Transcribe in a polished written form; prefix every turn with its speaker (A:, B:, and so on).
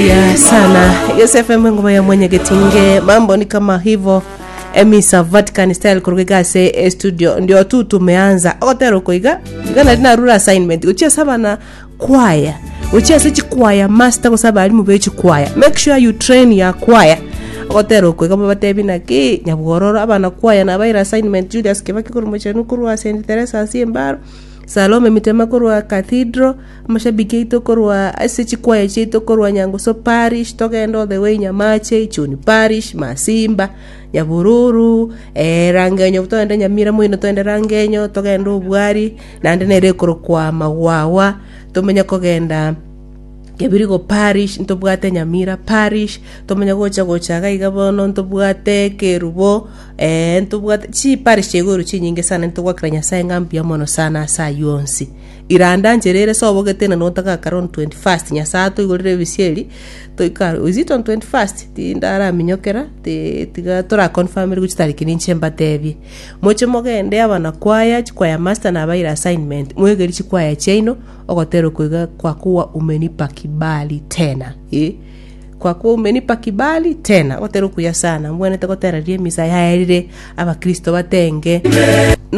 A: Buya sana Yosef ngoma ya mwenyegetinge mambo ni kama hivyo emisa Vatican style kuruga iga ase estudio ndio tu tumeanza ogotera oko iga iga nari narure assignment gochia ase abana kwaya gochia ase chikwaya master gose abarimu be chikwaya make sure you train your choir ogotera oko iga mobatebi naki nyabwororo abana kwaya nabaire assignment Julius Kibaki korwa Mochenu korwa St Teresa ase Embaro Salome Mitema korwa Cathedral Amashabiki aito korwa ase chikwaya chiaito korwa Nyangusu Parish, togende all the way Nyamache, Ichuni Parish, Masimba, Nyabururu, eh, Rangenyo togende Nyamira moino togende Rangenyo, togende Obwari, naende nere ekorokwa Magwagwa, tomenye kogenda Kebirigo Parish, ntobwate Nyamira Parish, tomenye gocha gocha iga iga bono ntobwate Kerubo, eh, ntobwate chiparish chiaigoro chinyinge sana ntogwakera Nyasaye ng'a mbuya mono sana ase aywo onsi. Iranda nchera ere sobogete na notagakare on 21st Nyasae atoigorere ebisieri toike aro is it on 21st tindaraminyokera ti tiga tora confirm chitariki ninche mbatebie. Moche mogende abana kwaya chikwaya master nabaire assignment mwegeri chikwaya chiaino ogotera oko iga kwa kuwa umenipa kibali tena eh kwa kuwa umenipa kibali tena ogotera okuya sana mbwenerete gotera riria emisa yaerire abakristo batenge.